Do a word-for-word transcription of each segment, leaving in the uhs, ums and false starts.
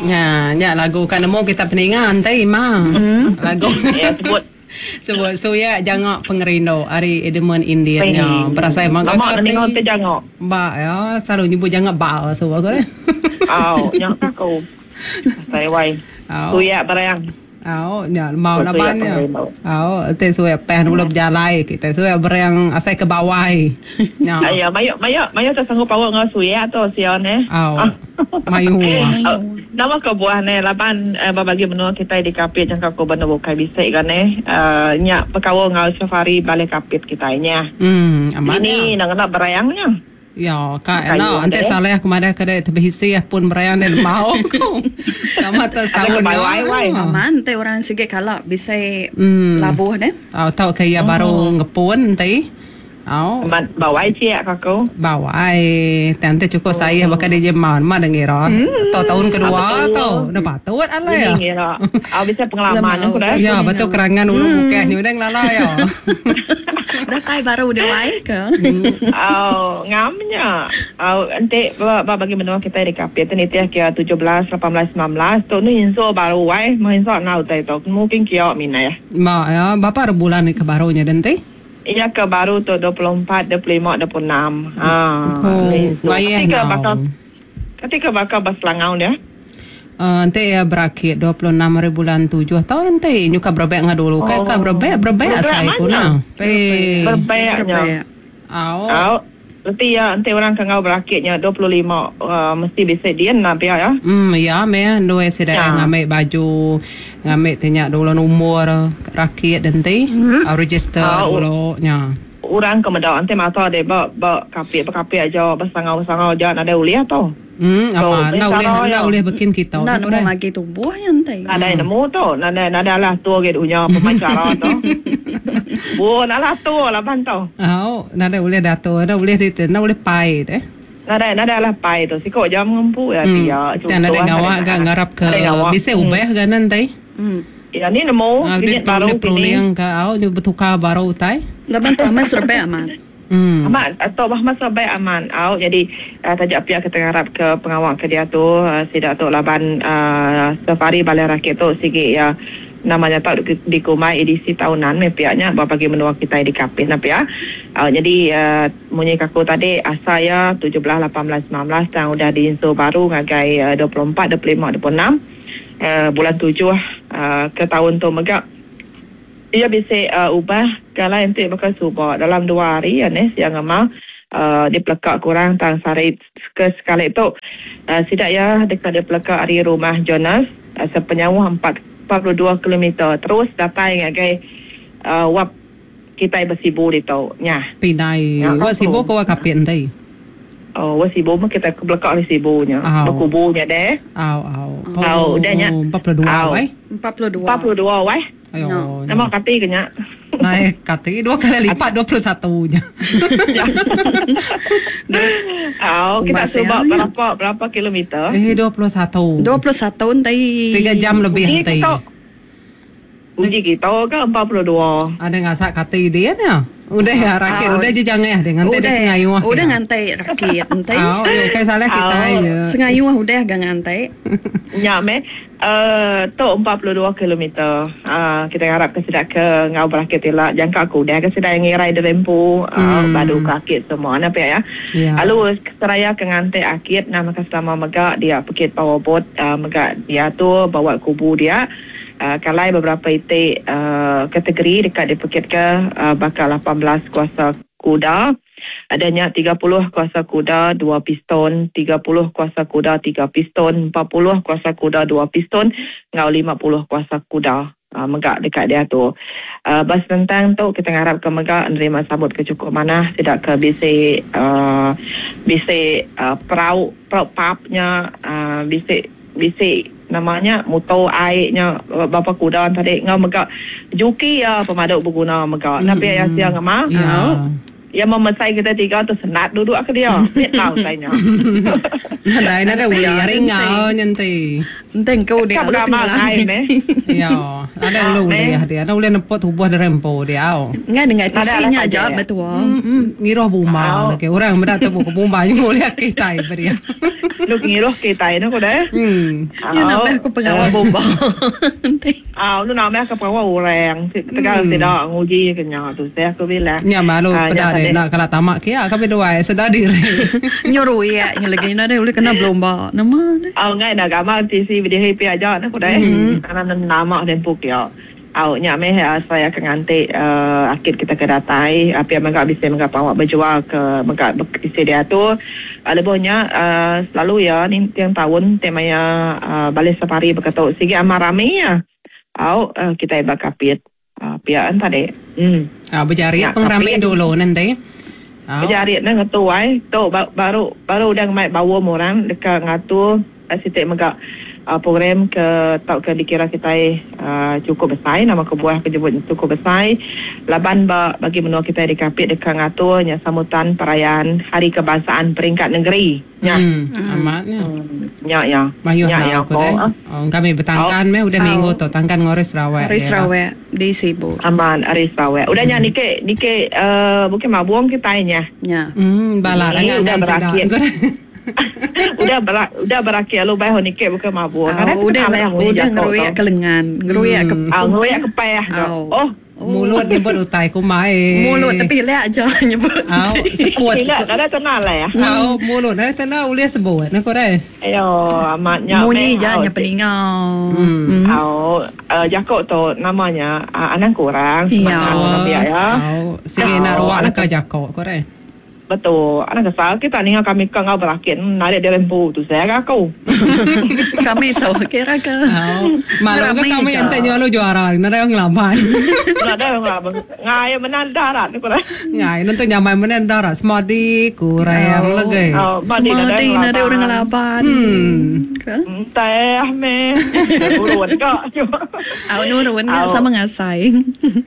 Ya, nya lagu kan nemu kita peninga enti ma. Mm. Lagu. Ya sebut sebut suya jangok pengerindu ari Edmund Indian nya. Berasai mangga lama ninga te jangok. Ba ya, selalu nyebut jangok ba so aku. Au, nya aku. Sai wai. Suya berang. Au, nya mau laban nya. Au, te suya peh dulu berjalai kita suya berang asai ke bawah. Nya. Ayo, mayo mayo mayo tak sanggup power ngau suya tu sion eh. Au. Mayu. Nama kebuah ne laban uh, bagi menua kita di Kapit jangka ko benda bukai bisik kan eh. Uh, nya pekawal ngau safari balik Kapit kita nya. Hmm, aman. Ini nak kena berayangnya. Ya, kak, no, ante salah aku madah kada terbisi pun berayang dan mau aku. Sama tak tahun ni. Aman, te orang sikit kalak bisa labuh deh. Tau tau kaya baru ngepun nanti. Oh. Bawai cik aku. Bawai, nanti cukup saya bakal dia jemau, mana ngira. Tau tahun kedua tau, dah patut ala ya. Ngira. Ah bisa pengalaman aku dah. Ya, betul kerangan ulu bukeh ni udah ngelala ya. Datai baru dia wai ke. Oh, ngamnya. Oh, ente bagi menua kita di Kapit ni tiah kia tujuh belas, lapan belas, sembilan belas tu ni inso baru wai, menginso nau tai tu. Mungkin kia mina ya. Ma ya, berapa bulan ni ke barunya nanti? Iya ke baru tu dua puluh empat, dua puluh lima, dua puluh enam. Ha. Oh, ketika bakal ketika bakal berselangau dia. Uh, nanti ya berakit dua puluh enam hari bulan tujuh tau nanti nyuka berbek ngah dulu. Kayak ka berbek berbek saya kuna. Berbeknya. Au. Au. Nanti ya nanti orang kangau berakitnya dua puluh lima uh, mesti bisa dia nak biar ya. Hmm ya me dua sida ya. Ngambil baju ngambil tanya dulu umur rakit nanti hmm. register oh, dulu nya. Orang ke medak nanti mata dia ba ba kapit kapit aja bersangau-sangau aja ada uliah tau. Hmm apa nak boleh nak boleh bikin kita. Nak nemu lagi tubuhnya nanti. Ada nemu tu, nada nada lah tu ge dunya pemacara tu. Bu, nak lah tu lah bantau. Oh, nada boleh dato, nada boleh di, nada boleh pai deh. Nada nada lah pai tu. Sikok jam ngempu ya dia. Dan ada ngawak gak ngarap ke bisa ubah kan nanti. Hmm. Ya ni nemu, ini baru ni ke au ni bertukar baru utai. Laban tu amat serba amat. Hmm. Amat atau bah masa baik aman. Au jadi uh, tajak pihak kita harap ke pengawal ke dia tu uh, sidak tu laban uh, safari balai rakyat tu sigi ya namanya tak di, di Kumai edisi tahunan me pihaknya bagi menua kita di Kapit nah pihak. Uh, jadi uh, munyi kaku tadi asal ya tujuh belas, lapan belas, sembilan belas dan udah diinsu baru ngagai uh, dua puluh empat, dua puluh lima, dua puluh enam uh, bulan tujuh uh, ke tahun tu megak. Ia bisa uh, ubah kalau nanti bakal subak dalam dua hari ya ni siang ama uh, dia pelekak kurang tang sari ke sekali tu uh, sidak ya dekat dia pelekak hari rumah Jonas uh, sepenyauh empat puluh dua kilometer terus datang ngagai uh, wap kita bersibu di tu nya pinai wap sibu ko kapit nanti. Oh, wap sibu mah kita ke belakang di sibunya. Berkubunya deh. Au au. Au udahnya empat puluh dua wai. empat puluh dua. empat puluh dua wai. Ayo. No. Nama kati kena. Naik kati dua kali lipat dua puluh satu nya. Oh, kita cuba berapa berapa kilometer? Eh dua puluh satu. dua puluh satu nanti. tiga jam lebih nanti. Uji kita ke empat puluh dua. Ada ngasak kati dia nya. Udah ya rakit oh. Udah je jangan dia ngantai dia ngayuh. Udah ngantai rakit nanti. Oh, ya okey salah kita ya. Sengayuh udah gak ngantai. Ya me. Eh tu empat puluh dua kilometer. Uh, kita harap ke sedak ke ngau berakit elak jangka aku dah ke sedak ngirai derempu uh, hmm. badu kakit semua na pia ya. Yeah. Lalu seraya ke ngantai akit nama ke selama megak dia pekit powerboat uh, megak dia tu bawa kubu dia. Uh, kalai beberapa itik uh, kategori dekat dipekit ke uh, bakal lapan belas kuasa kuda, adanya tiga puluh kuasa kuda dua piston, tiga puluh kuasa kuda tiga piston, empat puluh kuasa kuda dua piston, ngau lima puluh kuasa kuda. Uh, megak dekat dia tu. Uh, bas tentang tu kita harap ke megak nerima sambut ke cukup mana tidak ke bisi uh, bisi uh, perahu perahu papnya uh, bisi bisi namanya motor airnya bapa kuda tadi ngau megak juki ya pemaduk berguna megak. Mm. Napi ayah siang ama. Ya. Yang memesai kita tiga tu senat duduk ke dia. Mit tau tanya. Nadai nadai uli hari ngau nyanti. Enteng kau dia lu tinggal. Ya, ada ulu uli dia. Ada uli nepot tubuh derempo dia. Ngai dengan tisinya aja betul. Ngiroh buma lagi. Orang mendak tebu ke buma ni boleh kita beri. Lu ngiroh kita ni ko deh. Hmm. Ya nak aku pengawal bomba. Ah, lu nak aku pengawal orang. Tegal tidak nguji kenya tu. Saya aku bilang. Ya malu pada nak kalau tamak kia kami dua sedar diri. Nyuruh ya, yang lagi nak dia boleh kena belomba. Nama. Oh, ngai nak gambar T C video happy aja nak kudai. Karena nama dan puk ya. Au nya meh saya akan nganti akid kita ke datai api mangga bisa mangga pawak berjual ke mangga isi dia tu. Lebihnya selalu ya ni tiang tahun temanya balik safari berkata sigi amar rame ya. Au kita ibak kapit. Pihak tadi. Hmm. Ah berjari pengrame dulu nanti. Berjari nak ngetu ai. Tu baru baru dah mai bawa orang dekat ngatur sitik mega uh, program ke tau ke dikira kita uh, cukup besar nama kebuah kejebut cukup besar laban ba, bagi menua kita di Kapit dekat ngaturnya sambutan perayaan Hari Kebangsaan peringkat negeri. Ya. Hmm, amatnya. Hmm, ya ya. Mayuh ya, ya, aku deh. Oh, kami bertangkan meh udah oh. minggu tu tangkan ngoris Sarawak. Ngoris Sarawak di Sibu. Aman Ari Sarawak. Udah nya nike nike uh, bukan mabung kita nya. Ya. Hmm, balar angan angan udah berak udah berakhir lu bay honike bukan mabuk. Karena udah udah ngeruyak ke lengan, ngeruyak ke ah ngeruyak ke payah. Oh, mulut nyebut utai kumai. Mulut tapi lek aja nyebut. Au, seput. Tidak, ada tenang lah ya. Au, mulut ada tenang uliah sebut nak korai. Ayo, amatnya. Munyi je nya peningau. Au, jakok tu namanya anak kurang. Iya. Ya. Au, sige nak ruak nak jakok korai. Betul. Anak kesal kita ni kami kau ngau berakhir narik dia lempu tu saya aku. Kami tahu kira ke. Malu ke kami yang tanya lu juara, nada yang ngelaban. Nada yang ngelaban. Ngai menan darat ni kurang. Ngai nanti nyamai menan darat semadi kurang lagi. Oh, semadi nada orang ngelaban. Hmm. Teh me. Nurun kok. Au nurun sama ngasai.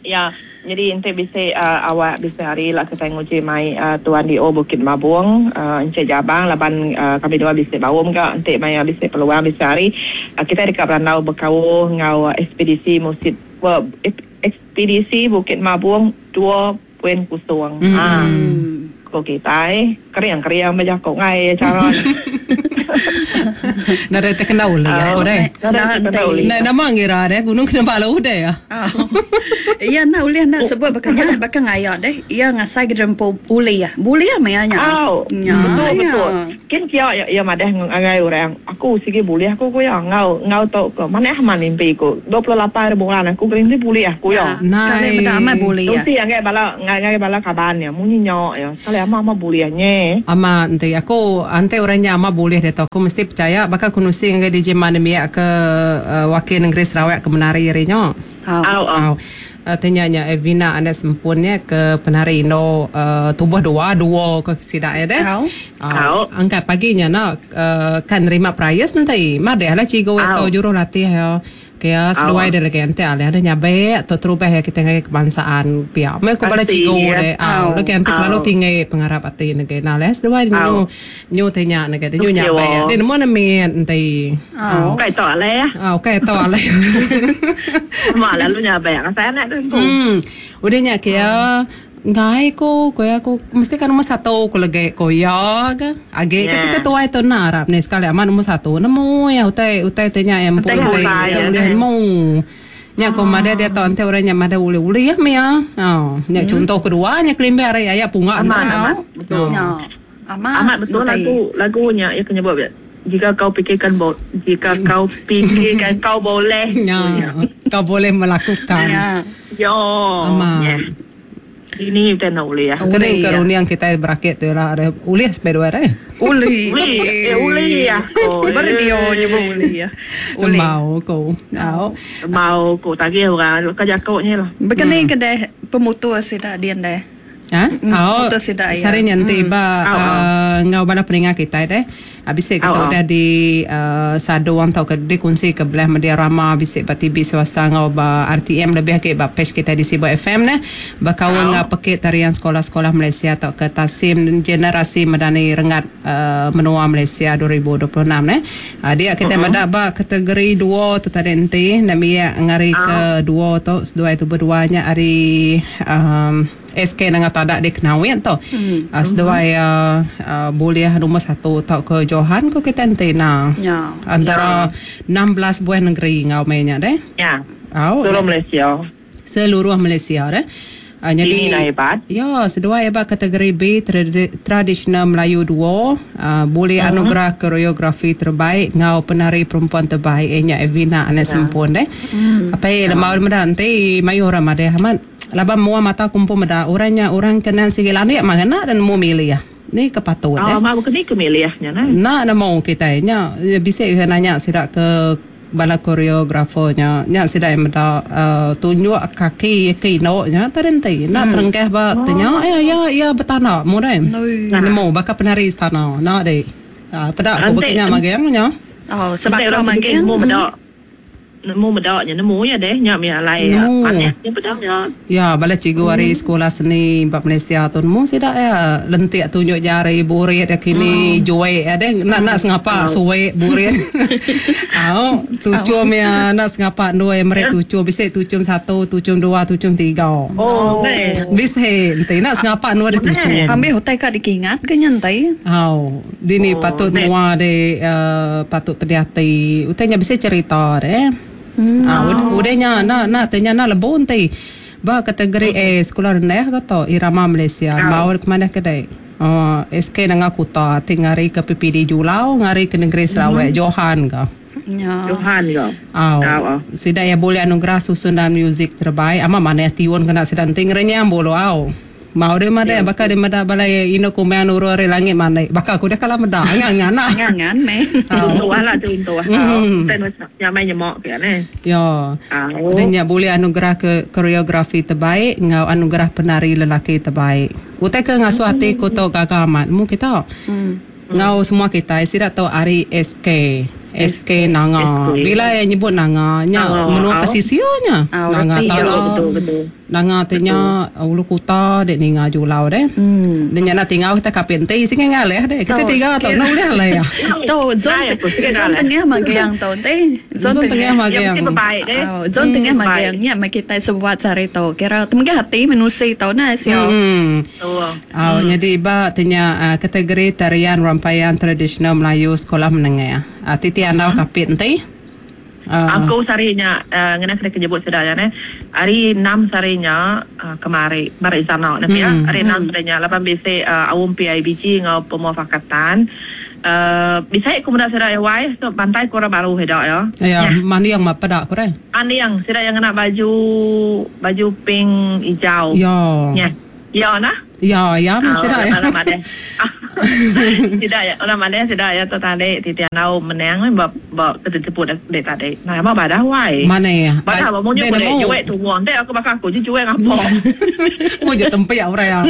Ya. Jadi ente bisa uh, awak bisa hari lah kita nguji mai uh, Tuan D O Bukit Mabung uh, Encik Jabang laban uh, kami dua bisa bawum ke ente mai bisa peluang bisa hari uh, kita dekat Berandau berkau ngau uh, ekspedisi musit uh, ekspedisi Bukit Mabung dua titik kosong. Hmm. Ha. Ko kita eh keriang-keriang macam kau ngai cara. Nada terkena uli ya, ore. Nah, nama ngira deh gunung Kinabalu deh ya. Iya nak uli nak sebut bakanya bakal ngayak deh. Iya ngasai ke rempo uli ya. Boleh ya mayanya. Oh, betul betul. Kin kia ya ya madah ngai orang. Aku sigi boleh aku ku ya ngau ngau tok ke mana ah mimpi ku. dua puluh lapan bulan aku berhenti boleh aku ya. Sekali benda amat boleh ya. Tu si ngai bala ngai ngai bala kaban ya munyi nyok ya. Sekali ama ama boleh nya. Ama nanti aku ante orangnya ama boleh deh tu. Aku mesti percaya bakal kunusi dengan D J Manemia ke uh, wakil negeri Sarawak ke menari rinyo. Au au. Uh, tanya Evina anda sempunnya ke penari no uh, tubuh dua dua ke sidak ya deh. Au. Au. Angkat paginya nak uh, kan nerima prize nanti. Madeh lah cikgu atau juru latih ya. Kaya seduai dia lagi ante alih ada nyabek atau terubah ya kita ngai kebangsaan pihak. Mereka kepada cikgu deh. Au, lagi ante terlalu tinggi pengarap ati ngai. Nah, les seduai nyu nyu tanya ngai nyu nyabek. Dia nemu nemi ante. Au. Kai to alih. Au, kai to alih. Mak lalu nyabek saya nak tu. Hmm. Udah nyak kaya ngai ko ko aku mesti kan nombor satu ko lagi ko ya ke age ke kita tuai tu nak Arab ni sekali aman nombor satu nemu ya utai utai tanya yang pun utai dia nemu nya ko mada dia tahu ante orangnya mada uli-uli ya mia oh nya contoh kedua nya kelimbe are ya punga aman aman betul aman amat betul lagu lagunya ya kena buat jika kau pikirkan bo- jika kau pikirkan kau boleh ya kau boleh melakukan ya yo aman ini kita nak uli ya. Kena kerunian kita berakit tu lah ada uli sampai dua dah. Uli. Uli, eh uli ya. Berdio nyebut uli ya. Uli. Mau ko. Mau. Mau ko tagih orang kerja kau ni lah. Begini kedai pemutus sida dian deh. Ha? Oh, Foto sida ya. Sari nyanti ba Au, au. uh, ngau bala peninga kita deh. Habis kita Au, au. udah di uh, saduang tau ke dikongsi ke belah media rama bisik ba T V swasta ngau ba R T M lebih ke ba page kita di Sibu F M neh. Bakawan ngau pekit tarian sekolah-sekolah Malaysia tau ke Tasim Generasi Madani Rengat uh, Menua Malaysia dua ribu dua puluh enam neh. Uh, dia kita uh-huh. mendak ba kategori dua tu tadi nanti nak biak ngari ke dua tu dua itu berduanya hari um, S K dengan tadak di Kenawin tu. Hmm. Uh, seduai uh, uh, boleh nombor satu tau ke Johan ko kita nanti nah. Ya. Antara enam belas buah negeri ngau mainnya deh. Ya. Au. Seluruh Malaysia. Seluruh Malaysia deh. Uh, jadi ini lah hebat. Ya, seduai hebat kategori B tradi- tradisional Melayu dua, uh, boleh uh-huh. anugerah koreografi terbaik ngau penari perempuan terbaik nya Evina anak ya. Sempun deh. Hmm. Apa ya lemau meda nanti mayu orang ada amat laban mua mata kumpul meda orangnya orang kena sigil anak magana dan mu milih ya. Ni kepatuhan oh, eh. Mak bukan ni kemilihnya nah. Nak nak mau kita nya bisa ke nanya sidak ke bala koreografernya nya sidak yang meda uh, tunjuk kaki ke indoknya terhenti nak hmm. terengkeh ba oh. tanya ya ya ya bertana mu dai. Nemu bakal penari istana nak dek. Ah pedak aku beknya mageng nya. Oh sebab kau mageng mu meda. Nemu medak nya nemu ya deh nya mi alai aneh nya pedak nya. Ya bala cikgu hari sekolah seni bab Malaysia tu nemu sidak ya lentik tunjuk jari burit ya kini hmm. juwe ya deh nak nak sengapa suwe burit. Au tucum ya nak sengapa dua yang mereka tucum bisa tucum satu tucum dua tucum tiga. Oh bisa ente nak sengapa dua dia tucum. Ambil hotel kat dikingat ke nyantai. Au dini patut mua de patut pedih hati utainya bisa cerita deh. Hmm. Ah, oh. Udahnya nak nak tanya nak lebon ti. Ba kategori A sekolah rendah ke to Irama Malaysia. Oh. Bawa ke mana kedai? Oh, S K nanga kuta tingari ke P P D Julau, ngari ke negeri Sarawak, mm-hmm. Johan ke. Ya. Johan ke. Oh. Oh. Sudah ya boleh anugerah susunan muzik terbaik. Ama mana tiun kena sedang tingrenya bolo au. Mau dia mada ya, bakal dia mada balai ino kumean uru ari langit mana bakal aku dah kalah meda ngan ngan ngan ngan me contoh lah contoh ten yang main nyemok ke ne ya dan ya boleh anugerah ke koreografi terbaik ngau anugerah penari lelaki terbaik utai ke ngasuh hati ku tok gagah amat mu kita ngau semua kita sidak tahu ari S K S K Nanga. Bila yang nyebut Nanga nya menua pesisirnya. Nanga tahu betul betul. Nanga tanya ulu kuta dek ninga julau deh. Dan nya nak tinggal kita kapente sing ngaleh deh. Kita tiga atau nak boleh lah ya. Tu zon zon tengah magiang tu teh. Zon tengah magiang. Zon tengah magiang nya mai kita sebuat sari tu. Kira temegah hati manusia tu nah sio. Oh jadi ba tanya kategori tarian rampaian tradisional Melayu sekolah menengah. Titi andau kapit nanti. Uh. Aku sarinya uh, ngena kena kejebut sudah ya ne. Hari enam sarinya uh, kemari mari sana ne ya. Hari enam sarinya lapan B C uh, awum P I B G ngau pemuafakatan. Uh, bisa aku muda sudah ya wai so pantai kurang baru hedak ya. Ya, mandi yang apa dak kurang? Andi yang sudah yang kena baju baju pink hijau. Ya. Ya. Ya nah. Ya, ya masih dah. Orang mana? Tidak ya, orang mana sudah ya tu tadi titian au menang ni bab bab terjemput dek tadi. Nah, apa badah wai? Mana ya? Badah apa maunya boleh jual tu wang. Dek aku bakal aku je jual apa? Mu je tempat orang yang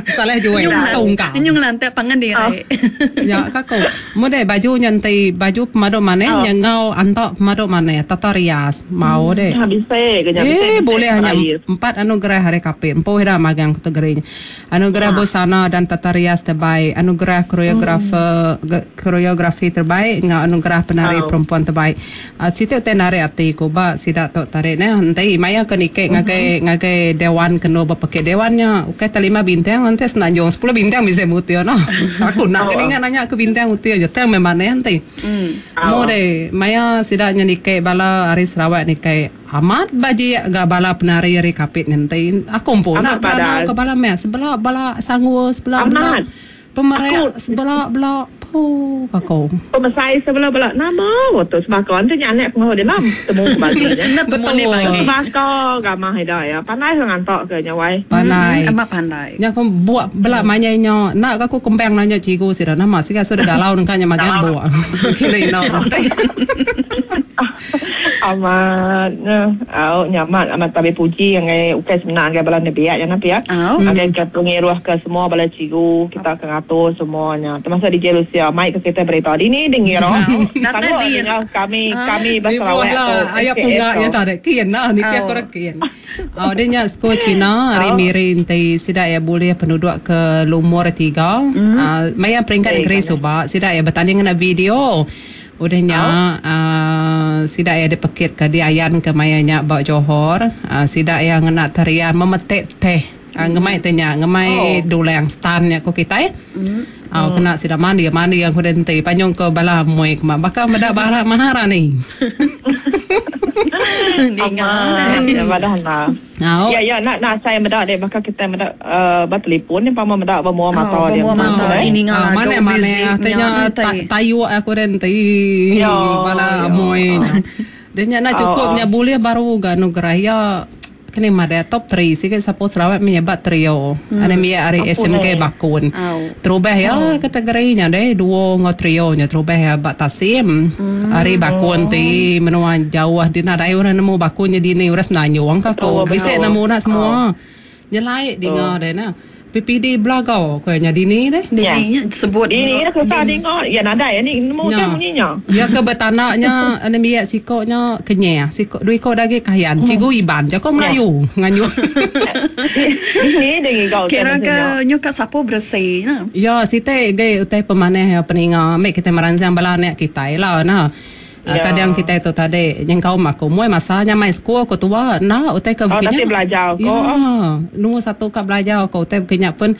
salah jual tungkang. Nyung lantai pangan dia. Ya, kakak. Mu dek baju nyantai baju pemaduk mana? Yang ngau antok pemaduk mana? Tata rias mau dek. Eh, boleh hanya empat anugerah hari kape. Empat dah magang kategorinya. Anugerah busana dan tata rias terbaik, anugerah koreografer hmm. koreografi terbaik, ngau anugerah penari oh. perempuan terbaik. Uh, situ te narik hati ku ba sidak tok tarik ne nanti maya ke nikek ngagai ngagai dewan kena berpakai dewannya. Okey terlima bintang nanti senanjung sepuluh bintang bisa mutia no. Aku nak kena ingat nanya ke bintang mutia je tang memang nanti. Hmm. Mo de maya sidaknya nikek bala hari Sarawak nikek amat baji ga bala penari hari kapit nanti. Aku pun nak kerana ke bala meh sebelah bala sanggup sebelah bala pemerek sebelah bala po aku pemesai sebelah bala nama waktu sebakon tu nyanek pengaruh dia lam temu bagi betul sebakon gamah ida ya pandai ngantok ke nyawai pandai amat pandai nya aku buat bala manyai nak aku kembang nanya cikgu sira nama sika sudah galau nangkanya magan buat kira ina nanti Amat au nyaman amat tabi puji yang ukai sebenar ngai bala nebiak yang napi ya. Ngai ke pengiruh ke semua bala cikgu kita ke ngatur semuanya. Termasuk di Jerusalem mai ke kita berita dini dengira. Datai di kami kami bersarawak tu. Ayah punga ya tak kian nah ni aku rekin. Oh dia nya sekolah Cina hari Miri enti sida ya boleh penduduk ke lumur tiga. Maya peringkat negeri subak sida ya bertanding ngena video. Udahnya uh, sida ya dipekit ke diayan ke mayanya ba Johor, uh, sida ya ngena tarian memetik teh. Uh, ngemai teh nya, ngemai oh. Dulang stannya ko kita. Mm. Uh, kena sida mandi mandi yang hudenti panjung ke bala moi ke bakal meda bara maharani. Ninga ya badah na. Ya ya nak nak saya meda dek bakal kita meda uh, bertelefon ni pama meda bermua mata dia. Bermua mata ini ninga. Mana mana tanya tayu aku renti bala moi. Dia nya nak cukupnya boleh baru ga anugerah ya. Kini mada top tiga sikit siapa Sarawak menyebat trio. Ada mia ari S M K Bakun. Terubah ya kategorinya deh duo ngau trio nya terubah ya bak Tasim. Ari Bakun ti menua jauh di nadai orang nemu Bakunnya di ni uras nanyuang ka ko. Bisa nemu nak semua. Nyelai dengar deh nah. P P D Belagau ko nya dini deh. Dini sebut dini dah susah dengar. Ya nadai ni nemu kan bunyinya. Ya ke bertanaknya ana miak sikoknya kenyah sikok dui ko dagi kayan cikgu Iban jako Melayu nganyu. Ini dengi kau. Kira ke nyu kat sapu bersih nah. Ya site ge utai pemaneh peninga mek kita merancang bala anak kita lah nah. Ya. Kadang kita itu tadi yang kau maku mui masanya mai sekolah ko tua nah utai ke oh, tapi belajar ko. Ya, nombor satu kat belajar ko utai bukannya pun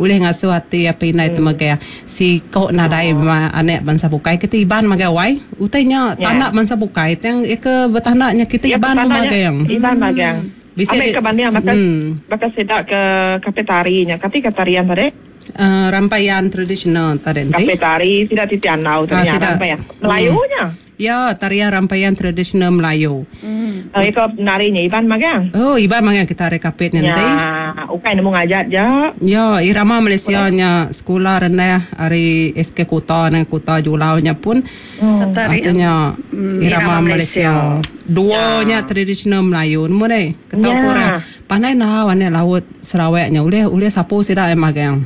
boleh ngasuh hati apa inai tu magai si kau nadai oh. Anak bangsa bukai kita Iban magai wai utainya yeah. Tanah bangsa bukai yang ke bertanaknya kita ya, Iban magai yang Iban magai bisa ambil ke banding bakal hmm. Bakal sedak ke kafetarinya kati katarian tadi Uh, rampaian tradisional tadi. Kafe tari tidak titian lau tadi rampaian Melayunya. Ya, tarian rampaian tradisional Melayu. Hmm. Uh, itu narinya Iban magang. Oh, Iban magang kita rekapit nanti. Ya, ukai nemu ngajak je. Ya, irama Malaysia nya sekolah rendah hari S K Kota dan Kota Julau nya pun. Hmm. Artinya hmm, irama, irama Malaysia. Malaysia. Duanya ya. Tradisional Melayu. Nemu deh, ketau ya. Korang. Pandai nah warna laut Sarawaknya uleh uleh sapu sida magang.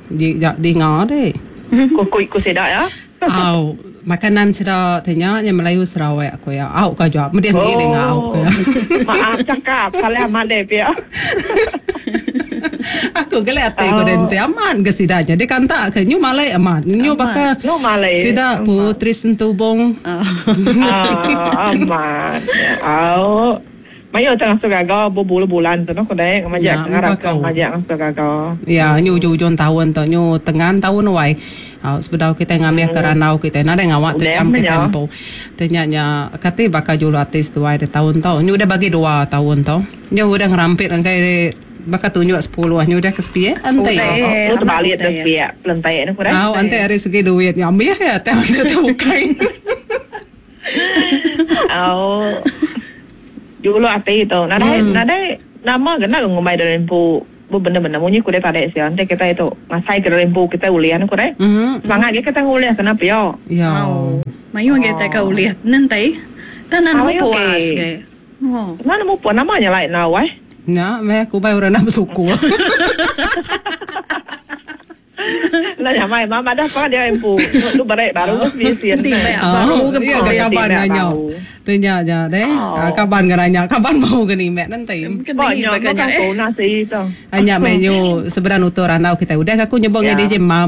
Di di ngah deh. Ku ku ku sedak ya. Au, makanan sedak tanya yang Melayu Sarawak aku ya. Au ka jawab. Mesti ni dengar au ka. Maaf cakap salah amat deh pia. Aku gelak hati ko dente aman ke sidaknya. Dia kan tak ke nyu Malay aman. Nyu bakal sidak Putri Sentubong. Ah, aman. Au. Mayo tengah suka berbulan-bulan tu nak kudai majak ngarap ke majak suka gagal. Ya, nyu hujung tahun tu nyu tengah tahun wai. Uh, sebedau kita ngambil ke ranau kita nada ngawak tu jam ke tempo. Tanyanya kati bakal julu artis tu wai de tahun tau. Nyu dah bagi dua tahun tau. Nyu udah ngerampit angkai bakal tunjuk sepuluh nyu dah ke sepi eh antai. Oh, tu balik tu sepi pelentai ni kudai. Ah, antai dari segi duit ngambil ya tahun tu bukai. Oh. Dulu ati itu, nadai hmm. Nadai nama kena ngumai dari lempu, bu benda-benda munyi kuda tarik sih. Nanti kita itu ngasai ke lempu kita ulian kuda. Hmm. Semangat kita nguliah kenapa yo? Ya. Oh. Mayu kita ke uliah nanti, tanah mau puas ke. Oh. Mana mau puas namanya lain nawai? Nah, meh aku bayar orang nak bersuku. Lah nyamai mama dah apa dia empu. Lu berek baru mesti baru ke kaban nanya. Tanya aja deh. Kaban nanya, kaban mau ke ni mek nanti. Banyak kan nasi itu. Hanya menu sebenarnya uturan kita udah aku nyebong D J mam.